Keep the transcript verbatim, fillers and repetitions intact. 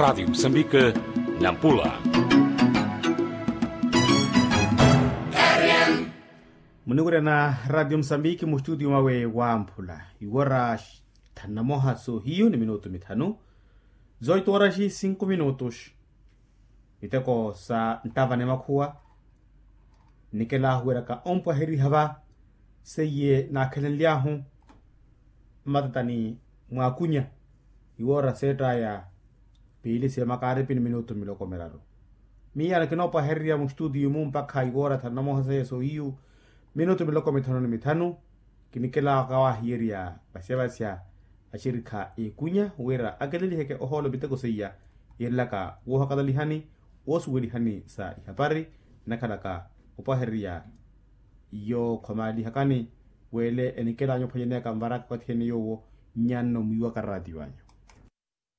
Ratio musambike, nampula. Muniwirya na ratio musambike mustutio mwawe wamphula iwora thanu na moha sohiyu ni minutu mithanu. Zoito oraxi sinku minutus. Miteko sa ntava ni makhuwa. Nikelahu wiraka ompwaheriha va seiye nakhelenlyahu mmatatani mwakunya iwora settaya piili sya makaripi ni minutu miloko miraru. Miya nikinopwahererya mustutiyu mu mpakha iwora thanu na moha seiye sohiyu minutu miloko mithanu ni mithanu. Kinikela kawahiyerya vasya vasya axirikha ekunya wira akeleliheke ohoolo miteko seiya yelelaka wohakalalihani wosuwelihani sa ihapari nakhalaka opwahererya. Iyo khomalihakani wele enikelanya ophwanyaneyaka mvaraka okathi ene yowo nyanno mwiiwaka ratio anyu.